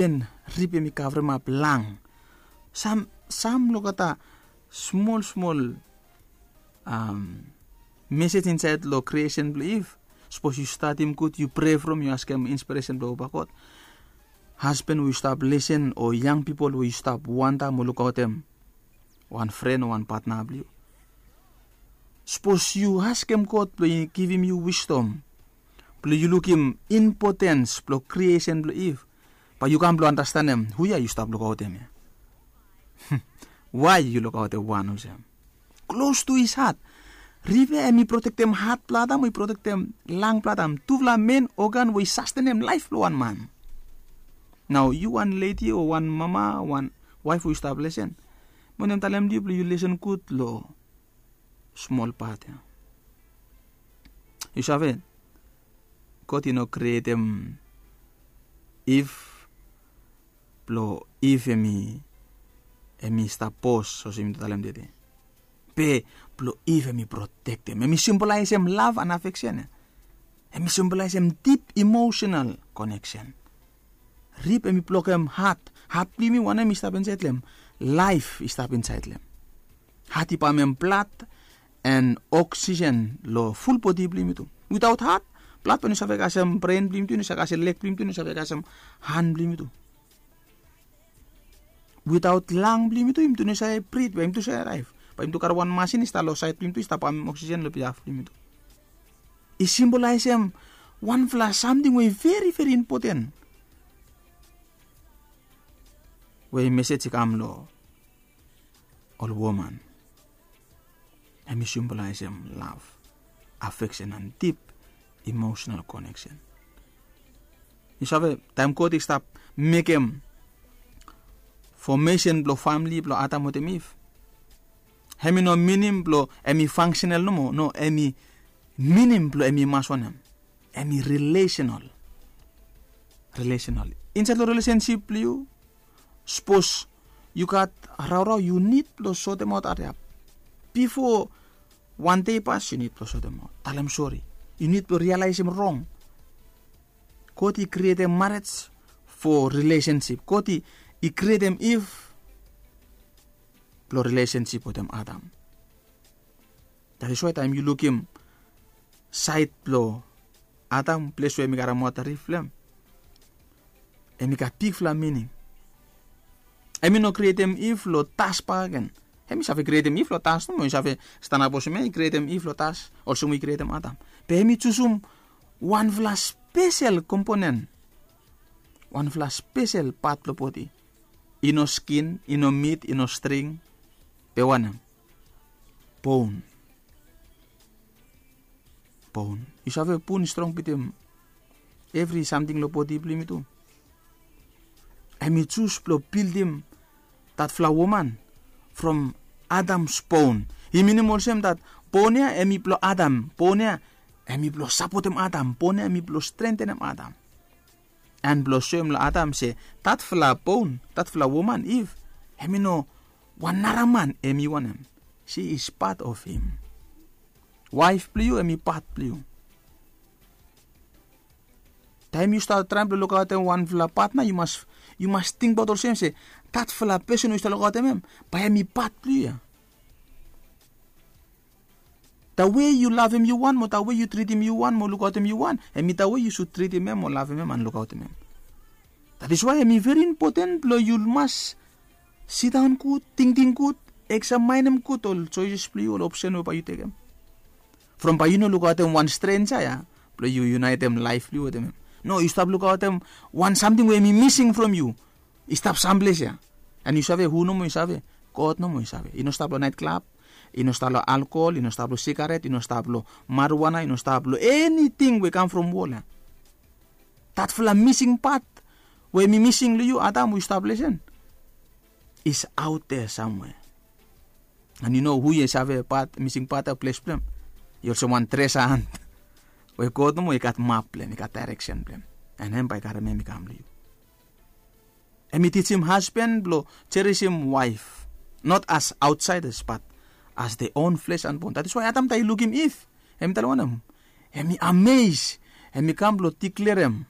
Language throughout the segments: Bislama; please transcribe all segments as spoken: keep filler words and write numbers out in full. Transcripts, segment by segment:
Iven rip em i kavremap lang. Sam sam olgeta smol smol mesej insaed long kriesen blong Iv. Sapos yu stadim gud, yu prea from, yu askem inspiresen blong Papa God. Hasban we yu stap lesen o yang pipol we yu stap wanta mo lukaotem wan fren o wan patna blong yu. Sapos yu askem God blong i givim yu wisdom blong yu lukim impotens blong kriesen blong Iv, bae yu kam blong anastenem hu ya yu stap lukaotem ya. Wai yu lukaotem wan olsem? Klos tu his hat. Rip ya em i protektem hat blong Adam o i protektem lang blong Adam, tufala men ogan we i sastenem laef blong wan man. Nao yu wan ledi o wan mama, wan waef we yu stap lesen, mi wantem talem long yu blong yu lesen gud long smol pat ya. Yu save, God i no krietem Iv blong Iv em i stap bos olsem mi talem tede. Be blong Iv em i protektem, em i simbolaesem lav and afeksen ya. Em i simbolaesem dip emosenal koneksen. Rip em i blokem hat. Hat blong yumi wanem i stap insaed long em? Laef i stap insaed long em. Hat i pamem blad and oksisen long ful bodi blong yumi tu. Witaot hat, blad bae i no save kasem bren blong yumi tu, i no save kasem leg blong yumi tu, i no save kasem han blong yumi tu. Witaot lang blong yumi tu, yumi tu i no save brit, bae yumi tu save laef? Bae yumi tu karem wan masin i stap long saed blong yumi tu i stap pamem oksisen long biaf blong yumi tu. I simbolaesem wanfala samting we i veri veri impoten, we mesej i kam long ol woman. Em i simbolaesem lav, afeksen and dip emosenal koneksen. Yu save, taem God i stap mekem fomesen blong famle blong Adam wetem Iv, em i no minim blong em i fangsenal nomo. No, em i minim blong em i mas wanem? Em i rilesenal. Rilesenal. Insaed long rilesensip blong yu, sapos yu gat raorao, yu nid blong sotemaot hariap. Bifo wan dei i pas yu nid blong sotemaot, talem sori. Yu nid blong rialaesem rong. God i krietem marej fo rilesensip. God i krietem Iv blong rilesensip wetem Adam. That is why taem yu lukim saed blong Adam, ples we em i karem wota rif blong em, em i gat bigfala mining. Em i no krietem Iv long das bakegen. Em i save krietem Iv long das nomo, i save stanap olsem ya, i krietem Iv long das olsem we i krietem Adam. Be em i jusum wanfala spesel komponen, wanfala spesel pat blong bodi. I no skin, i no mit, i no string. Be wanem? Bon. Bon. Yu save, bon i strong bitim evri samting long bodi blong yumi tu. Em i jus blong bildim datfala woman from Adam's bone. I minim olsem dat bon ya em i blong Adam. Bon ya em i blong sapotem Adam. Bon ya em i blong strentenem Adam. An blong soem long Adam se datfala bon, datfala woman Iv, em i no wan nara man, em i wanem? She is part of him. Waef blong yu em i pat blong yu. Taem yu stap traem blong lukaotem wanfala patna, yu mas, yu mas tingbaot olsem se datfala pesen we yu stap lukaotem em, bae em i pat blong yu ya. Tawe yu lavem yu wan mo tawe yu tritim yu wan mo lukaotem yu wan, em i tawe yu sud tritim em mo lavem em an lukaotem em. That is why em i veri impoten blong yu mas sidaon gud, tingting gud, eksamaenem gud ol joeses blong yu, ol opsen we bae yu tekem. From bae yu no lukaotem wan strenja ya blong yu yunaetem laef blong yu wetem em. No, yu stap lukaotem wan samting we em i mising from yu. I stap samples ya. An yu save hu nomo i save? God nomo i save. I no stap long naet klab, i no stap long alkohol, i no stap long sigaret, i no stap long marijuana, i no stap long eniting we kam from wol ya. Datfala mising pat we em i mising long yu, Adam, we yu stap lesen, is out there somewhere. An yu no hu i save pat, mising pat ya, ples blong em? I olsem wan tresa hant we God nomo i gat map blong em, i gat daereksen blong em. An em bae i karem em i kam long yu. Em i tijim hasban blong jerisim waef, not as outsiders, but as their own flesh and bone. That is why Adam taem i lukim Iv, em i talem wanem? Em i ames, em i kam blong diklerem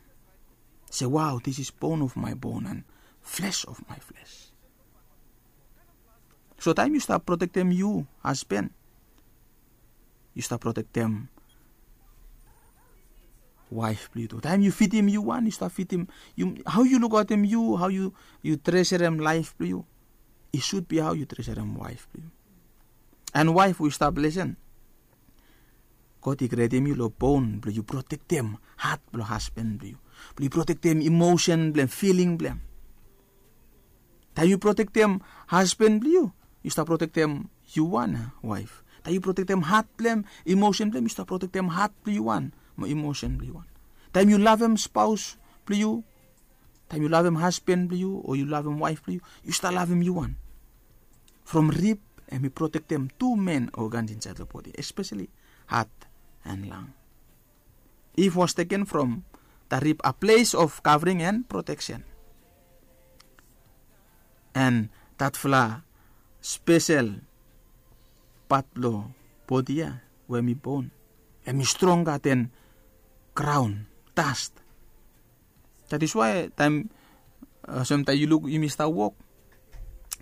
Se, wow, this is bone of my bone and flesh of my flesh. So taem yu stap protektem yu hasben, yu stap protektem waef blong yu tu. Taem yu fidim yu wan, yu stap fidim, hao yu lukaotem yu, hao yu treserem laef blong yu, i sud bi hao yu treserem waef blong yu. And waef, we stap lesen, God i krietem yu long bon blong yu protektem hat blong hasben blong yu, blong yu protektem emosen blong em, filing blong em. Taem yu protektem hasben blong yu, yu stap protektem yu wan waef. Taem yu protektem hat blong em, emosen blong em, yu stap protektem hat blong yu wan mo emosen blong yu wan. Taem yu lavem spaos blong yu, taem yu lavem hasben blong yu o yu lavem waef blong yu, yu stap lavem yu wan. From rib, hem i protektem tu men ogans insaed long bodi, espeseli hat and lang. Eve was taken from the rib, a place of covering and protection. And datfala spesel pat blong bodi ya, we hem i bon, hem i stronga ten graon, dust. That is why taem, uh, samtaem yu luk yumi stap wok,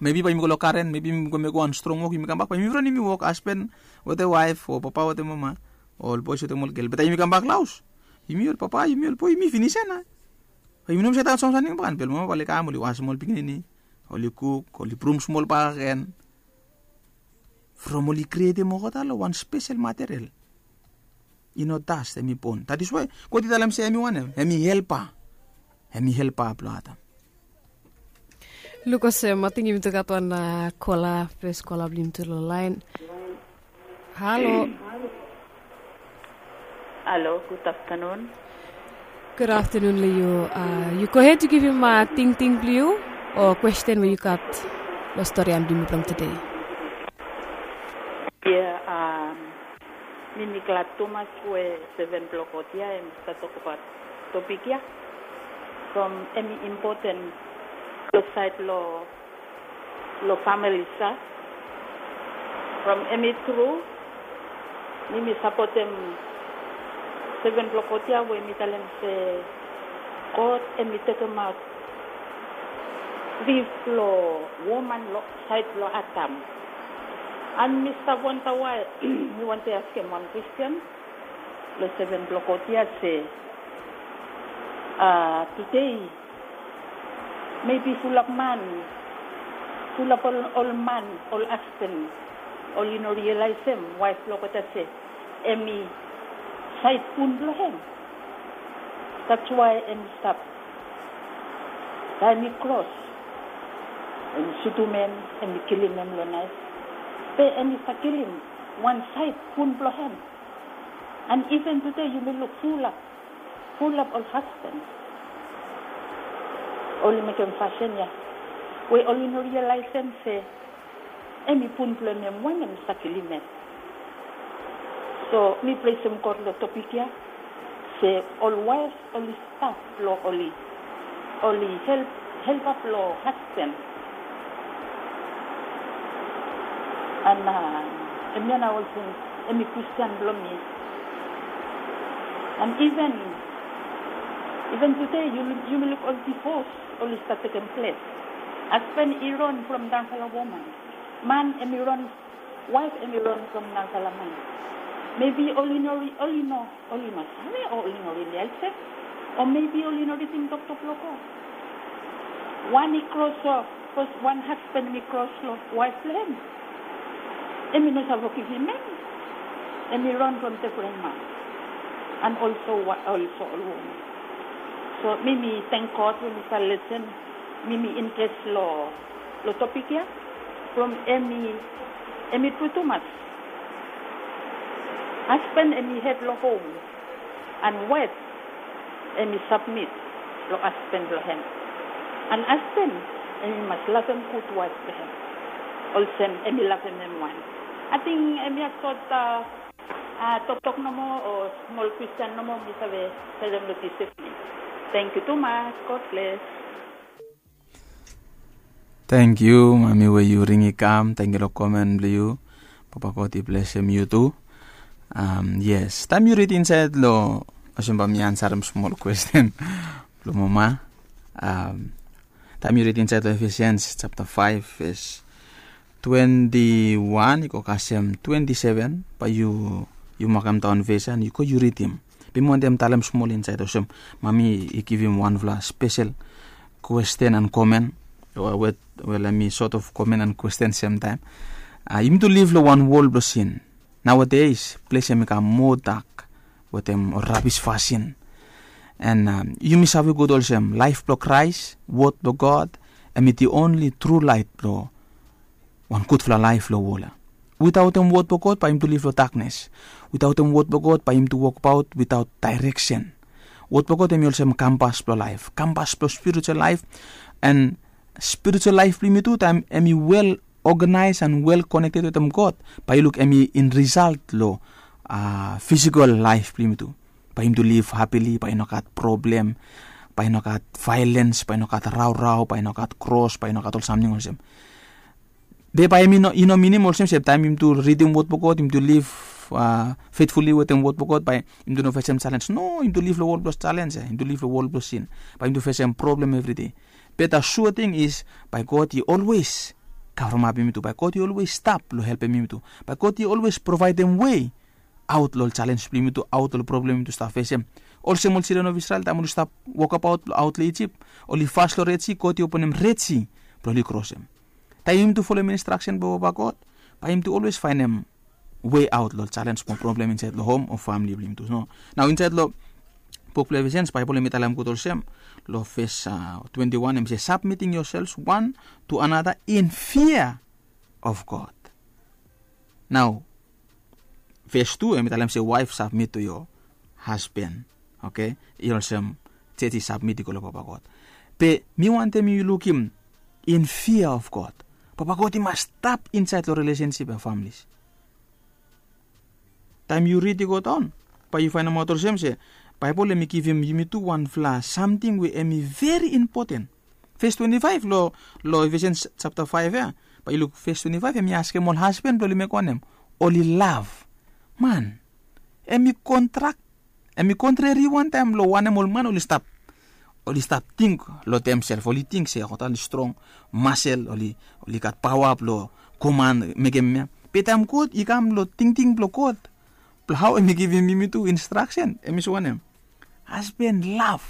maybe bae yumi go long garen, maybe yumi go mekem wan strong wok, yumi kambak, bae yumi ron yumi wok, hasben wetem waef o papa wetem mama, ol boes wetem ol gel. Be taem yumi kambak long haos, yumi ol papa, yumi ol boe, yumi finis ya nao. Bae yumi no mas stap save samting bakegen, be ol mama bae oli kam, oli wasem ol pikinini, oli kuk, oli brum smol bakegen. From oli krietem olgeta long wan spesel material. I no dust, hem i bon. That is why God i talem se hem i wanem, hem i helpa. Hem i helpa blong Adam. Luk olsem, ating yumi tu gat wan kola, fes kola blong yumi tu long laen. Halo. Halo, gud aftenun. Gud aftenun long yu. Yu gohed, yu givim tingting blong yu o kwesten we yu gat long storian blong yumi blong tede. Ia, mi mi glad tumas we seven blong God ia hem i stap tokbaot topik ia. From hem i impoten long saed long long famili sa. From hem i tru, mi mi sapotem seven blong God ia we mi talem se God hem i tekemaot rib blong woman long saed blong Adam. And mi stap wanda wae, mi wantem askem wan kwesten long seven blong God ia se, a, tede, mebi fulap man, fulap ol, ol man, ol hasben, oli no rialaesem waef blong olgeta se hem i saed bun blong hem. That's why hem i stap, taem i kros, hem i sutum hem, hem i kilim hem long naef. Be hem i stap kilim wan saed bun blong hem. And even tede yumi luk fulap, fulap ol hasben oli mekem fasin ia we oli no rialaesem se hem i bun blong hem, wanem, hem i stap kilim hem. So mi presem God long topik ia se ol waef oli stap blong oli, oli help, helpap long hasben. And hemia nao olsem hem i kwesten blong mi. And even, even tede yumi luk ol divos oli stap tekem ples. Hasben i ron from narafala woman. Man hem i ron, waef hem i ron from narafala man. Mebi oli no, oli no, oli no save o oli no rialaesem, o mebi oli no ridim toktok blong God. Wan i kros, o wan hasben hem i kros long waef blong hem, hem i no save givim hem. Hem i ron from defren man. And also, also ol woman. So mi mi tang God we mi stap lesen, mi mi interes long long topik ia. From hem i, hem i tru tumas. Hasben hem i hed long hom, and waef hem i sabmit long hasben blong hem. And hasben hem i mas lavem gud waef blong hem olsem hem i lavem hem wan. Ating hemia sot toktok nomo o smol kwesten nomo mi save selem long dis ivning. Tangkiu tumas. God bles. Tangkiu mami we yu ring i kam. Tangkiu long komen blong yu. Papa God i blesem yu tu. Yes, taem yu rid insaed long, olsem bae mi ansarem smol kwesten Blong mama, taem yu ridim insaed long Efesians japta faef ves twenti wan i go kasem twenti seven, bae yu makem daon ves ya an yu go yu ridim. Be mi wantem talem smol insaed olsem, mami i givim wanfala spesel kwesten an komen, wel, hem i sot of komen an kwesten semtaem. Yumi tu liv long wan wol blong sin. Naoades ples hem i kam moa dak wetem ol rabis fasin. An yumi save gud olsem laef blong Kraes, wod blong God, hem i di onli tru laet blong wan gudfala laef long wol ya. Witaotem wod blong God bae yumi tu liv long daknes. Witaotem wod blong God bae yumi tu wokbaot witaot daereksen. Wod blong God hem i olsem kampas blong laef, kampas blong spiritual laef. An spiritual laef blong yumi tu, taem hem i wel oganaes an wel konekted wetem God, bae yu luk hem i in risalt long fisikol laef blong yumi tu. Bae yumi tu liv hapili, bae i no gat problem, bae i no gat vaelens, bae i no gat raorao, bae i no gat kros, bae i no gat ol samting olsem. Be bae hem i no minim olsem se taem yumi tu ridim wod blong God, yumi tu liv fetfuli wetem wod blong God, bae yumi tu no fesem jalens. No, yumi tu liv long wol blong jalens ya, yumi tu liv long wol blong sin. Bae yumi tu fesem problem evridei. Be the sure thing is, bae God i olwes kavremapim yumi tu, bae God i olwes stap long helpem yumi tu, bae God i olwes provaedem wei aot long ol jalens blong yumi tu, aot long ol problem yumi tu stap fesem. Olsem ol sildren of Isrel, taem oli stap wokabaot blong aot long Ijip, oli fas long Red Sea, God i openem Red Sea blong oli krosem. Taem yumi tu folem instraksen blong Papa God, bae yumi tu olwes faenem wei aot long ol jalens mo problem insaed long hom o famili blong yumi tu. Nao insaed long buk blong Efesians, Baebol hem i talem gud olsem, long ves twenti wan hem i se, submitting yourselves one to another in fear of God. Nao ves tu hem i talem se, wife, submit to your husband. Oke, i olsem jej i submit i go long Papa God. Be mi wantem yu lukim in fear of God. Papa God i mas stap insaed long relesensip ya, familis. Taem yu rid i go daon, bae yu faenemaot olsem se Baebol hem i givim yumi tu wanfala samting we hem i veri impoten. Ves twenti faef long Efesians japta faef ya, bae yu luk ves twenti faef, hem i askem ol hasban blong oli mekem wanem? Oli lav. Man, hem i kontrak, hem i kontrari wantaem long wanem ol man oli stap, oli stap ting long demsef. Oli ting se olgeta oli strong masel, oli gat paoa blong koman mekem ya. Be taem God i kam long tingting blong God, blong hao hem i givim yumi tu instraksen, hem i se wanem? Hasban, lav.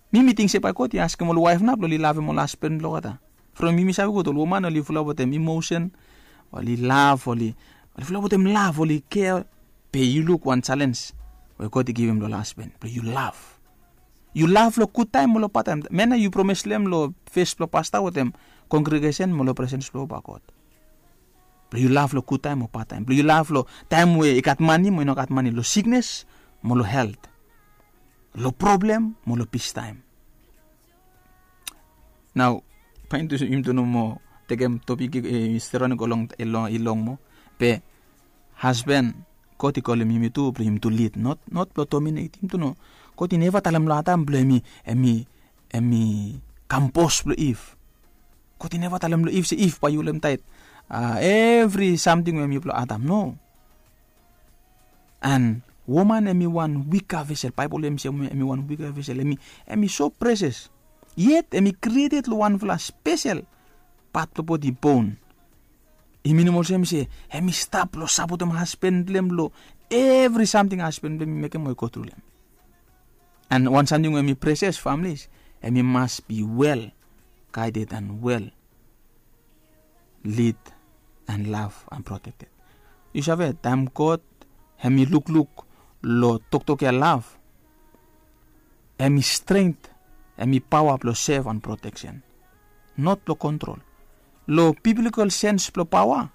Mi mi ting se bae God i askem ol waef nao blong oli lavem ol hasban blong olgeta. From yumi save gud, ol woman oli fulap wetem emosen, oli lav, oli fulap wetem lav, oli kea. Be yu luk wan jalens we God i givim long ol hasban, blong yu lav. Yu lav long gudtaem mo long badtaem. Man ya yu promes long hem long fes blong pasta wetem kongregesen mo long presens blong Papa God. Blong yu lav long gudtaem o badtaem. Blong yu lav long taem we i gat mane mo i no gat mane, long siknes mo long helt, long problem mo long pistaem. Nao bae yumi tu no moa tekem topik i steriwan i go long, i long moa. Be hasban, God i kolem yumi tu blong yumi tu lid, not blong dominet. Yumi tu no, God i neva talem long Adam blong hem i, hem i kam bos blong Iv. God i neva talem long Iv se, Iv, bae yu holem taet evri samting we hem i blong Adam. No. An woman hem i wan wika vesel. Baebol hem i se hem i wan wika vesel. Hem i so presias. Yet hem i krieted long wanfala spesel pat blong bodi, bon. I minim olsem se hem i stap blong sapotem hasban blong hem long evri samting hasban blong hem i mekem o i gotru long hem. An wan samting we hem i presias, familis, hem i mas be wel gaeded an wel lid an lav an protekted. Yu save, taem God hem i lukluk long toktok ya lav, hem i strength, hem i paoa blong sev an proteksen, not blong kontrol. Long biblikol sens blong paoa,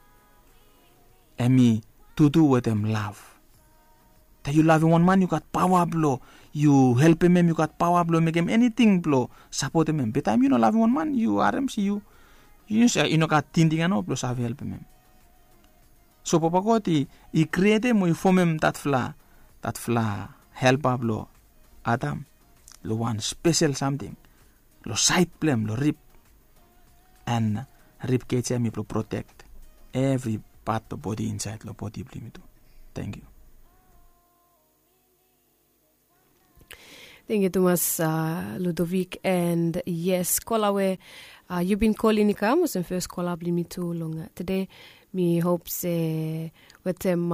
hem i tutu wetem lav. Taem yu lavem wan man, yu gat paoa blong yu helpem hem, yu gat paoa blong mekem eniting blong sapotem hem. Be taem yu no lavem wan man, yu harem se yu, yu no gat tingting ya nao blong save helpem hem. So Papa God i krietem o i fomem datfala, datfala helpa blong Adam long wan spesel samting long saed blong hem, long rib. An rib kej ya hem i blong protek evri pat blong bodi insaed long bodi blong yumi tu. Tangkiu. Tangkiu tumas, Ludovic, and yes, kola we yu bin kolin i kam olsem fes kola blong mi tu long tede. Mi hop se wetem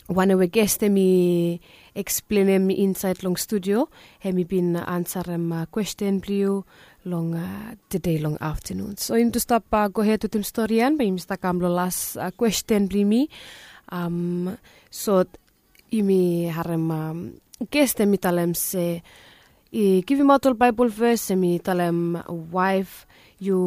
wanem we ges em i eksplenem insaed long studio, hem i bin ansarem kwesten blong yu long tede long aftanun. So yumi tu stap gohed wetem stori ya, bae yumi stap kam long las kwesten blong yumi. So yumi harem ges em i talem se i givimaot ol Baebol ves, em i talem waef, yu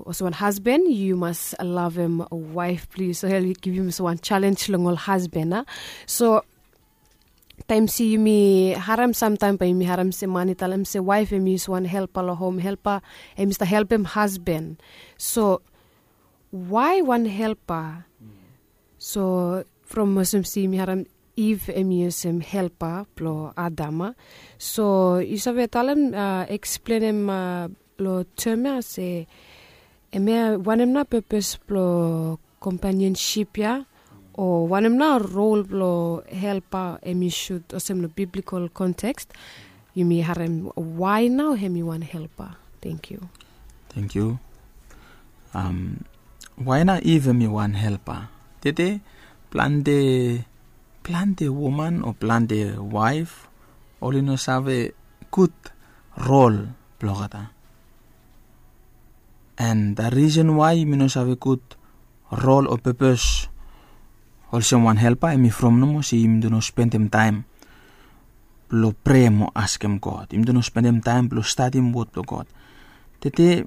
olsem wan hasban yu mas lavem waef blong yu. So hem i givim olsem wan jalenj long ol hasban a. So taem se yumi harem, samtaem bae yumi harem se man i talem se waef em i olsem wan helpa long hom, helpa, em i stap helpem hasban. So wae wan helpa? So from olsem se yumi harem Iv em i olsem helpa blong Adam a. So yu save talem, eksplenem long tem ya se hemia wanem nao pepes blong kompanionsip ya, o wanem nao rol blong helpa em i sud olsem long biblikol konteks? Yumi harem wae nao hem i wan helpa. Tangkiu. Tangkiu. Wae nao Iv em i wan helpa? Tede plante, plante woman o plante waef oli no save gud rol blong olgeta. And the reason why yumi no save gud rol o pepes olsem wan helpa, em i from nomo se yumi tu no spendem taem blong prea mo askem God. Yumi tu no spendem taem blong stadim wod blong God. Tede,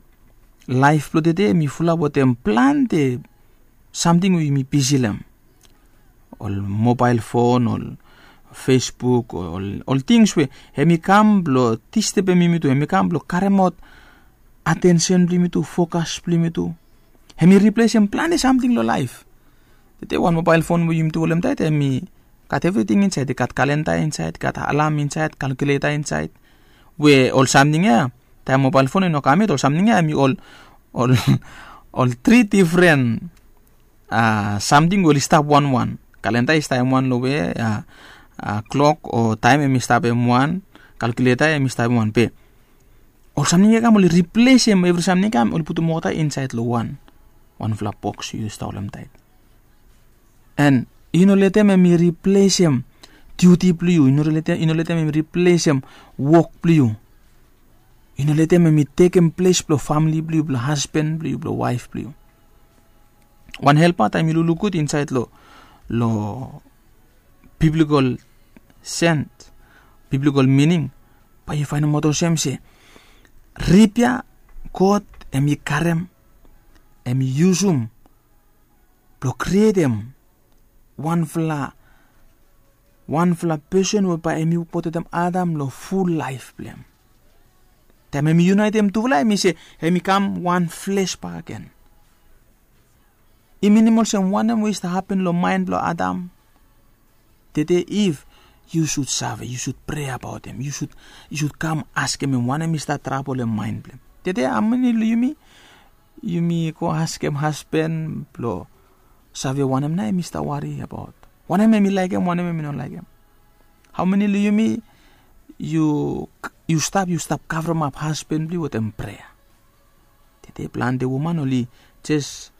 laef blong tede em i fulap wetem plante samting we yumi bisi long hem. Ol mobael fon, ol Facebook, ol, ol tings we hem i kam blong distebem yumi tu, hem i kam blong karemaot atensen blong yumi tu, fokas blong yumi tu. Hem i riplesem plante samting long laef. Tede wan mobael fon we yumi tu holem taet, hem i gat evriting insaed, i gat kalenda insaed, i gat alam insaed, kalkuleta insaed. We ol samting ya, taem mobael fon i no kam yet, ol samting ya hem i ol, ol, ol tri difren samting we oli stap wanwan. Kalenda i stap hem wan long we klok o taem hem i stap hem wan, kalkuleta hem i stap hem wan, be ol samting ya i kam oli riplesem evri samting ya, i kam oli putum olgeta insaed long wan, wanfala boks yu stap holem taet. And i no letem hem i riplesem diuti blong yu, i no letem hem i riplesem wok blong yu. I no letem hem i tekem ples blong famle blong yu, blong hasban blong yu, blong waef blong yu. Wan helpa, taem yu lukluk gud insaed long, long biblikol sens, biblikol mining, bae yu faenemaot olsem se rip ya God hem i karem, hem i yusum blong krietem wanfala, wanfala pesen we bae hem i wok wetem Adam long ful laef blong hem. Taem hem i yunaetem tufala, hem i se hem i kam wan fles bakegen. I minim olsem wanem we i stap hapen long maen blong Adam? Tede Iv, yu sud save, yu sud prea abaot hem, yu sud, yu sud kam askem hem wanem i stap trabol long maen blong hem. Tede, hao meni long yumi, yumi go askem hasban blong save wanem nao hem i stap wari abaot? Wanem hem i laekem, wanem hem i no laekem? Hao meni long yumi, yu, yu stap, yu stap kavremap hasban blong yu wetem prea? Tede plante woman oli jes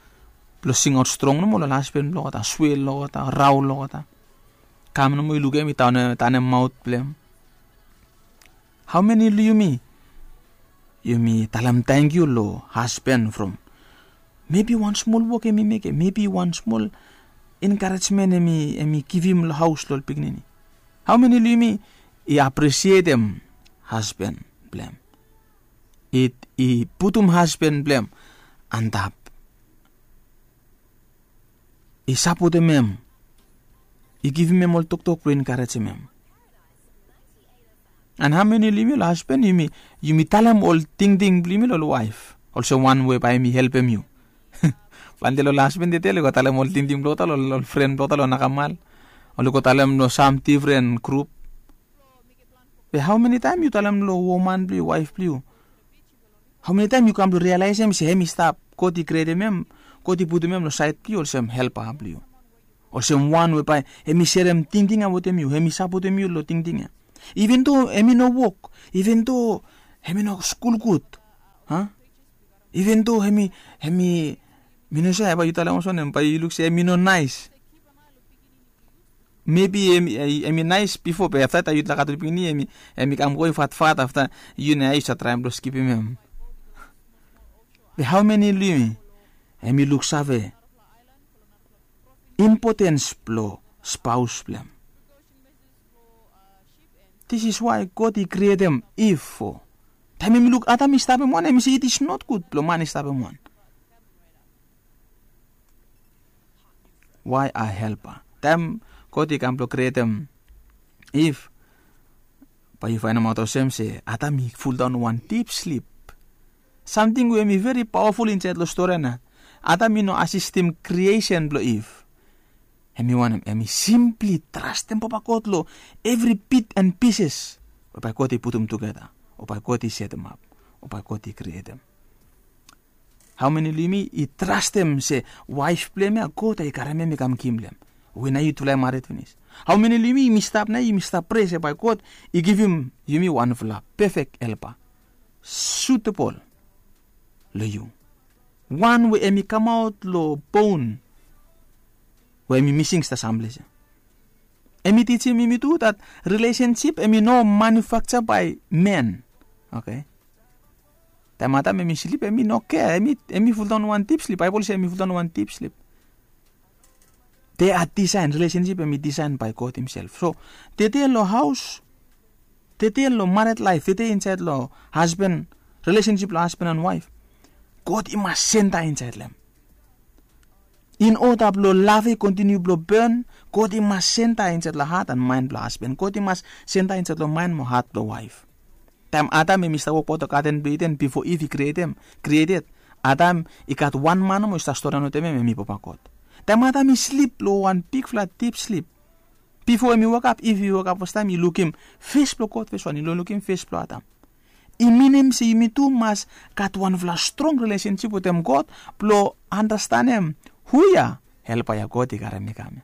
blong singaot strong nomo long ol hasban blong olgeta, swea long olgeta, rao long olgeta. Kam nomo i lukim hem i tanem, tanem maot blong hem. Hao meni long yumi, yumi talem tangkiu long hasban from mebi wan smol wok hem i mekem, mebi wan smol enkarejmen hem i, hem i givim long haos long ol pikinini? Hao meni long yumi i apresietem hasban blong hem? I, i putum hasban blong hem antap. I sapotem hem. I givim hem ol toktok blong enkarejem hem. And hao meni long yumi ol hasban, yumi, yumi talem ol tingting blong yumi long ol waef olsem wan we bae hem i helpem yu? Plante long ol hasban tede oli go talem ol tingting blong olgeta long ol, ol fren blong olgeta long nakamal. Oli go talem long sam difren grup. Be hao meni taem yu talem long woman blong yu, waef blong yu? Hao meni taem yu kam blong rialaesem se hem i stap, God i krietem hem, God i putum hem long saed blong yu olsem helpa blong yu, olsem wan we bae hem i serem tingting ya wetem yu, hem i sapotem yu long tingting ya? Even though em i no wok, even though em i no skul gud, even though em i, em i mi no save bae yu talem olsem wanem, bae yu luk se em i no naes. Mebi em i naes bifo, be afta taem yu talem gat ol pikinini, em i kam go i fatfat, afta yu na ya yu save traem blong skipim em. Be hao meni long yumi em i luksave impotens blong spaos blong em? This is why God i krietem Iv fo. Taem em i luk Adam i stap em wan, em i se it is not good blong man i stap em wan. Why a helper? Taem God i kam blong krietem Iv, bae yu faenemaot olsem se Adam i fuldaon wan dip slip. Samting we em i veri paoaful insaed long stori ya, Adam i no asistem kriesen blong Iv. Em i wanem? Em i simpli trastem Papa God long evri bit and pises we bae God i putum tugeta, o bae God i setemap, o bae God i krietem. Hao meni long yumi i trastem se waef blong hem ya God i karem hem i kam givim long hem? We nao yutufala i mared finis. Hao meni long yumi yumi stap nao, yumi stap prea se bae God i givim yumi wanfala pefek helpa, sutebol long yu, wan we em i kamaot long bon we em i mising stap samples ya. Em i tijim yumi tu dat rilesensip em i no manufakja bae man. Oke. Taem Adam em i slip, em i no kea, em i fuldaon wan dip slip. Baebol se em i fuldaon wan dip slip. They are design, rilesensip em i disaen bae God himself. So tede long haos, tede long mared laef, tede insaed long hasban, rilesensip blong hasban and waef, God i mas senta insaed long hem. In oda blong lav i kontiniu blong bon, God i mas senta insaed long hat and maen blong hasban. God i mas senta insaed long maen mo hat blong waef. Taem Adam em i stap wokbaot long gaden blong Iden bifo Iv i krietem, krieted, Adam i gat wan man nomo i stap storian wetem hem, em i Papa God. Taem Adam i slip long wan bigfala dip slip, bifo em i wokap, Iv i wokap fastaem, i lukim fes blong God fes wan, i no lukim fes blong Adam. I minim se yumi tu mas gat wanfala strong rilesensip wetem God blong andastanem hu ya helpa ya God i karem i kam ya.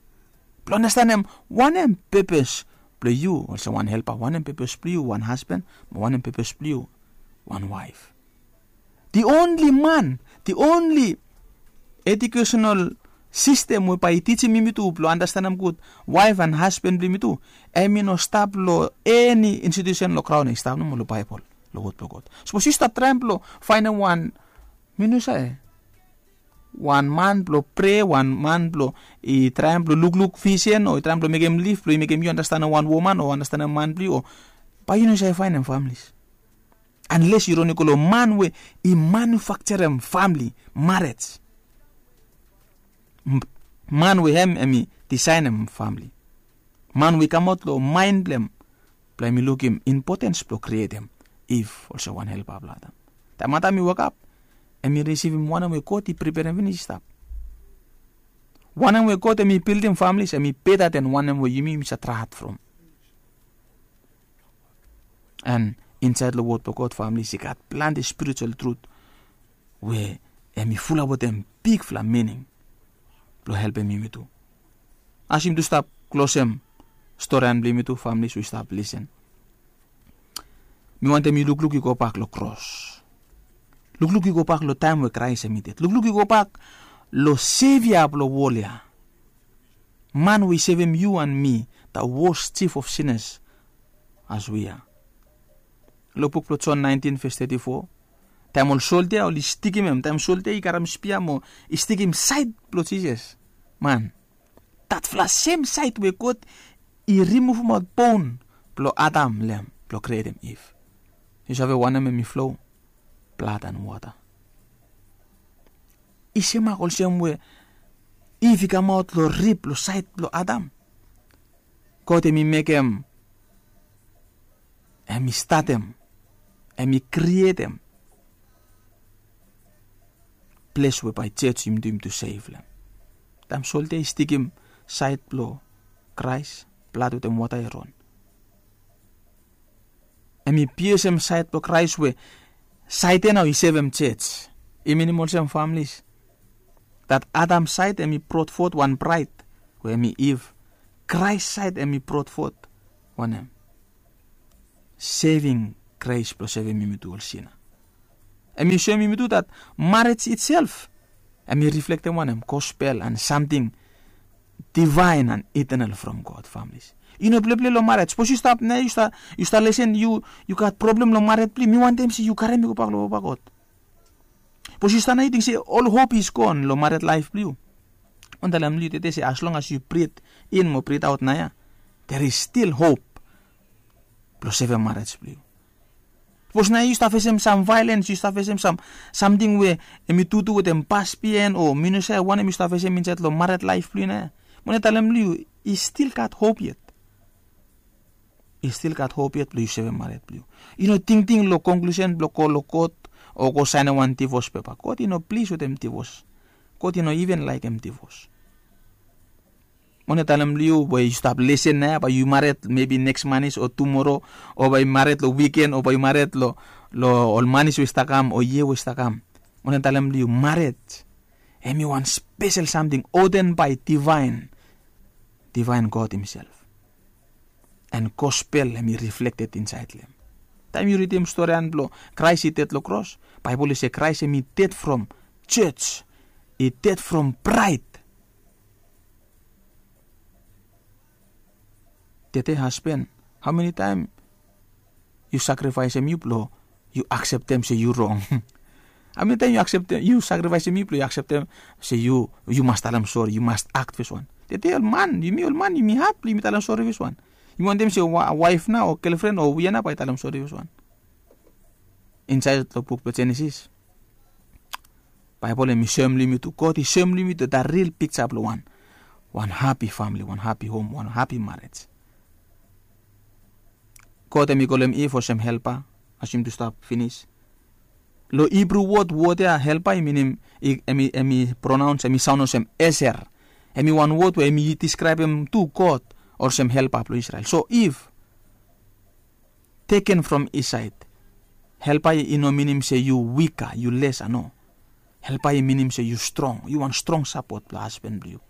Blong andastanem wanem pepes blong yu olsem wan helpa, wanem pepes blong yu wan hasban, mo wanem pepes blong yu wan waef. Di onli man, di onli ejukesonal sistem we bae i tijim yumi tu blong andastanem gud waef and hasban blong yumi tu, em i no stap long eni institusen long graon, i stap nomo long Baebol, long wod blong God. Sapos yu stap traem blong faenem wan, mi no save, wan man blong prea, wan man blong i traem blong lukluk visen o i traem blong mekem lif blong i mekem yu andastanem wan woman o andastanem man blong yu, o bae yu no save faenem famlis. Anles yu roni go long man we i manufakjarem famli, marej. Man we hem em i disaenem famli. Man we i kamaot long maen blong hem blong hem i lukim impotens blong krietem Iv olsem wan helpa blong Adam. Taem Adam i wokap, hem i risivim wanem we God i preperem finis i stap. Wanem we God hem i bildim famlis, hem i beta den wanem we yumi yumi save traet from. And insaed long wod blong God, famlis, i gat plante spiritual trut we hem i fulap wetem bigfala mining blong helpem yumi tu. As yumi tu stap klosem storian blong yumi tu, famlis we i stap lisen, mi wantem yu lukluk yu gobak long kros. Lukluk yu gobak long taem we Kraes hem i ded. Lukluk yu gobak long Sevia blong wol ya, man we i sevem yu and mi, the worst chief of sinners as we are. Long buk blong Jon naentin ves teti fo, taem ol soldia oli stikim hem, taem soldia i karem spia mo i stikim saed blong Jisas, man, datfala sem saed we God i rimuvumaot bon blong Adam long hem blong krietem Iv, yu save wanem hem i flo? Blad and wota. I semak olsem we Iv i kamaot long rib long saed blong Adam. God hem i mekem, hem i statem, hem i krietem ples we bae jej yumi tu yumi tu sef long hem. Taem soldia i stikim saed blong Kraes, blad wetem wota i ron. Hem i piesem saed blong Kraes we saed ya nao i sevem jej. I minim olsem, famlis, dat Adam saed hem i brodfot wan braed we hem i Iv. Kraes saed hem i brodfot wanem? seving gres blong sevem yumi tu ol sina. Em i soem yumi tu dat marej itself em i riflektem wanem, gospel and samting divaen and itenal from God, familis. I no pleple long marej. Sapos yu stap na yu stap lesen, yu gat problem long marej blong yu, mi wantem se yu karem i gobak long papa God. Sapos yu stap na yu ting se ol hop is gon long mared laef blong yu, wan talem long yu tede se as long as yu brit in mo brit aot na ya, there is still hop blong sevem marej blong yu. Sapos na yu stap fesem sam vaelens, yu stap fesem sam samting we em i tutu wetem pas bihaen o mi no save wanem yu stap fesem insaed long mared laef blong yu na ya, mi wantem talem long yu, i stil gat hop yet. I stil gat hop yet blong yu sevem mared blong yu. I no tingting long konklusen blong go long kot o go saenem wan divos pepa. God i no plis wetem divos. God i no iven laekem divos. Mone talem long yu we yu stap lesen na ya, bae yu mared mebi neks manis o tumoro, o bae yu mared long wiken, o bae yu mared long ol manis we i stap kam o yia we i stap kam. Mone talem long yu, mared em i wan spesel samting oden bae divaen, divaen God himself. And gospel em i riflekted insaed long em. Taem yu ridim storian blong Kraes i ded long kros, Baebol i se Kraes em i ded from jos, i ded from praed. Tede hasben, hao meni taem yu sakrifaesem yu blong yu akseptem se yu rong? Hao meni taem yu akseptem, yu sakrifaesem yu blong yu akseptem se yu yu mas talem sori, yu mas akt feswan? Tede ol man, yumi ol man, yumi had blong yumi talem sori feswan? Yumi wantem se waef na o gelfren o wia na bae i talem sori feswan? Insaed long buk blong Jenesis, Baebol em i soem long yumi tu, God i soem long yumi tu dat ril pikja blong wan, wan hapi famili, wan hapi hom, wan hapi marej. God em i kolem Iv olsem helpa, as yumi tu stap finis. Long Hibru wod, wod ya helpa i minim, em i pronaons, em i saon olsem eser. Em i wan wod we em i diskraebem tu God olsem helpa blong Isrel. So Iv, teken from his saed, helpa i no minim se yu wika, yu lesa, no. Helpa i minim se yu strong, yu wan strong sapot blong hasben blong yu.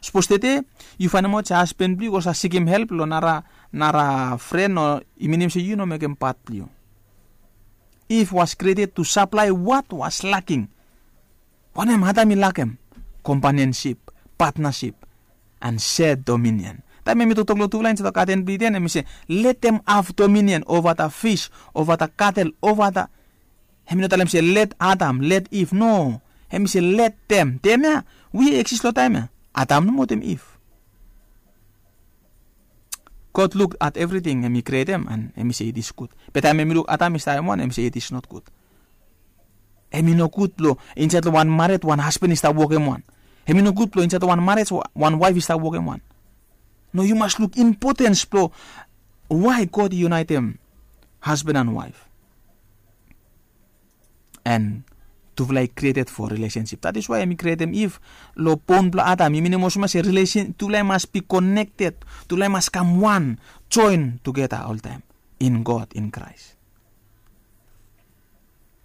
Sapos tede yu faenemaot se hasben blong yu go save sikim help long nara, nara fren, o i minim se yu no mekem pat blong yu. Iv was created to supply what was lacking. Wanem Adam i lakem? Kompanionsip, patnasip, and share dominion. Taem em i toktok long tufala insaed long gaden blong Iden, em i se, let them have dominion over the fish, over the cattle, over the, em i no talem se let Adam, let Iv, no. Em i se let them. Them ya, we i eksis long taem ya? Adam nomo wetem Iv. God luk at evriting em i krietem and em i se it is gud. Be taem em i luk Adam i stap hem wan, em i se it is not gud. Em i nogud blong insaed long wan mared wan hasben i stap wokem wan. Em i nogud blong insaed long wan mared wan waef i stap wokem wan. No, yu mas luk impotens blong wae God i yunaetem hasben and waef. And tufala i created for relationship. That is why em i createm Iv long bon blong Adam. I minim olsem se relation, tufala i mas be connected, tufala i mas kam wan, join together oltaem in God, in Christ.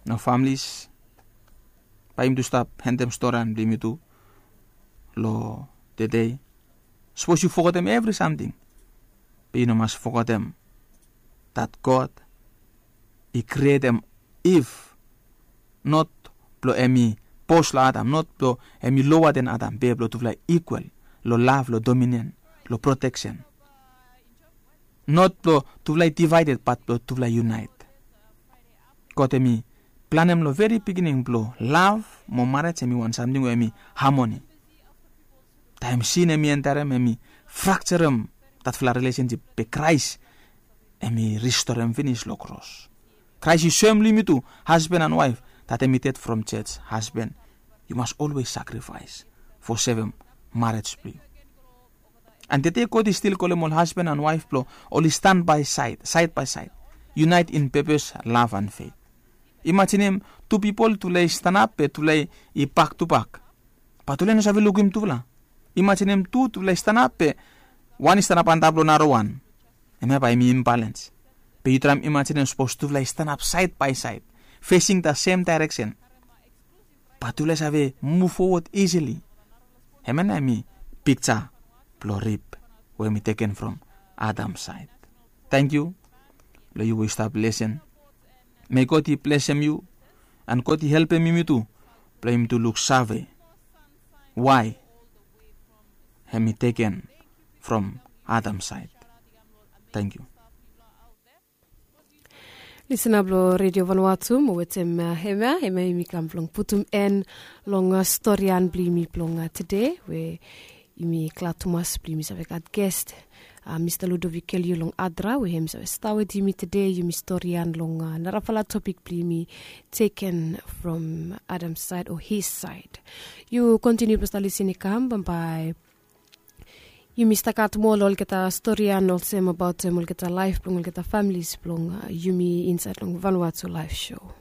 Nao families, bae yumi tu stap endem storian blong yumi tu long tede. Sapos yu fogetem evri samting, be yu no mas fogetem that God i createm Iv, not blong em i bos long Adam, not blong em i lower than Adam, be blong tufala i equal long love, long dominion, long protection. Not blong tufala i divided, but blong tufala i unite. God em i planem long veri beginning blong love mo marej em i wan samting we em i harmony. Taem sin em i enterem, em i frakserem datfala relationship, be Kraes em i ristorem finis long kros. Kraes i soem long yumi tu, hasben and waef, that em i ded from jos. Hasben, yu mas always sacrifice for sevem marej blong yu. And tede God i stil kolem ol hasben and waef blong oli stand by side, side by side, unite in purpose, love and faith. Imajinim tu pipol, tufala i stanap be tufala i bak tu bak. Bat tufala i no save lukim tufala. Imajinim tu, tufala i stanap be wan i stanap antap long narawan. Hemia bae em i imbalens. Be yu traem imajinim sapos tufala i stanap side by side, facing the same direction. Bat tufala i save move forward easily. Hemia nao em i pikja blong rib we em i teken from Adam saed. Tangkiu. blong yu we yu stap lesen. Mei God i blesem yu, an God i helpem yumi tu blong yumi tu luksave wae hem i teken from Adam saed. Tangkiu. Lisena blong redio vanua tu mo wetem hemia hemia yumi kam blong putum en long storian blong yumi blong tede we yumi glad tumas blong yumi save gat gest, mista Ludovic Kelio long Adra we hem i save stap wetem yumi tede. Yumi storian long narafala topik blong yumi teken from Adam saed o his saed. Yu kontiniu blong stap lisin i kam bambae. Yumi stap gat moa long olgeta storian olsem abaotem olgeta laef blong olgeta familis blong yumi insaed long Vanuatu Laef Sho.